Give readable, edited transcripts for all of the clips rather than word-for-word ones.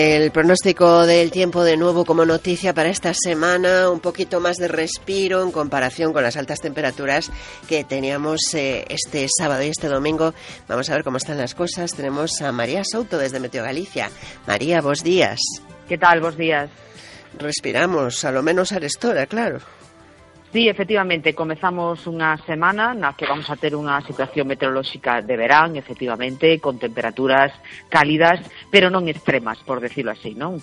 El pronóstico del tiempo de nuevo como noticia para esta semana, un poquito más de respiro en comparación con las altas temperaturas que teníamos este sábado y este domingo. Vamos a ver cómo están las cosas. Tenemos a María Souto desde Meteo Galicia. María, bos días. Que tal, bos días? Respiramos, a lo menos arestora, claro. Sí, efectivamente, comezamos unha semana na que vamos a ter unha situación meteorolóxica de verán, efectivamente, con temperaturas cálidas, pero non extremas, por decirlo así, non?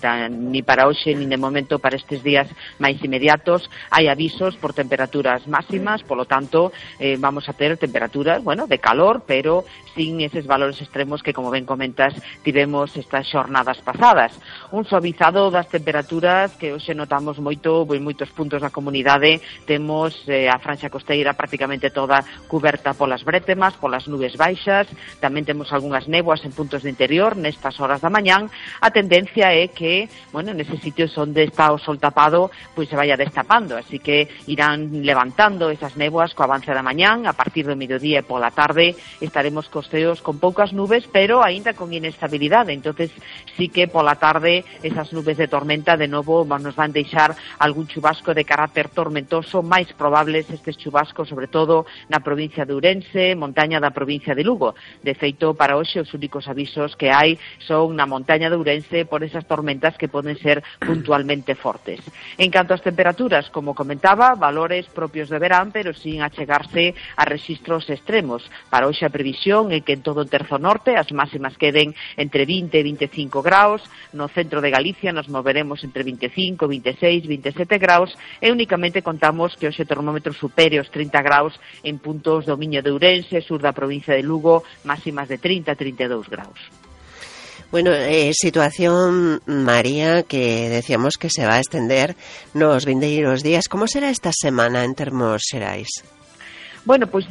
Ni para hoxe, ni de momento para estes días máis inmediatos, hai avisos por temperaturas máximas, polo tanto, vamos a ter temperaturas, bueno, de calor, pero sin eses valores extremos que, como ben comentas, tivemos estas xornadas pasadas. Un suavizado das temperaturas que hoxe notamos moito en moitos puntos da comunidade. Temos a franxa costeira prácticamente toda cuberta polas brétemas, polas nubes baixas, tamén temos algunhas néboas en puntos de interior nestas horas da mañán. A tendencia é que, bueno, neses sitios onde está o sol tapado, pois se vaya destapando, así que irán levantando esas néboas co avance da mañán. A partir do mediodía e pola tarde estaremos cos ceos con poucas nubes, pero aínda con inestabilidade, entonces sí que pola tarde esas nubes de tormenta de novo nos van deixar algún chubasco de carácter tormentoso, máis probables estes chubascos, sobre todo na provincia de Ourense, montaña da provincia de Lugo. De feito, para hoxe os únicos avisos que hai son na montaña de Ourense por esas tormentas que poden ser puntualmente fortes. En canto ás temperaturas, como comentaba, valores propios de verán, pero sin achegarse a rexistros extremos. Para hoxe a previsión é que en todo o terzo norte as máximas queden entre 20 e 25 graus, no centro de Galicia nos moveremos entre 25, 26, 27 graus e únicamente contamos que hoxe o termómetro supere os 30 graus en puntos do Miño de Ourense, sur da provincia de Lugo, máximas de 30 a 32 graus. Bueno, situación, María, que decíamos que se va a extender nos vindeiros días. Como será esta semana en termos xerais? Bueno, pois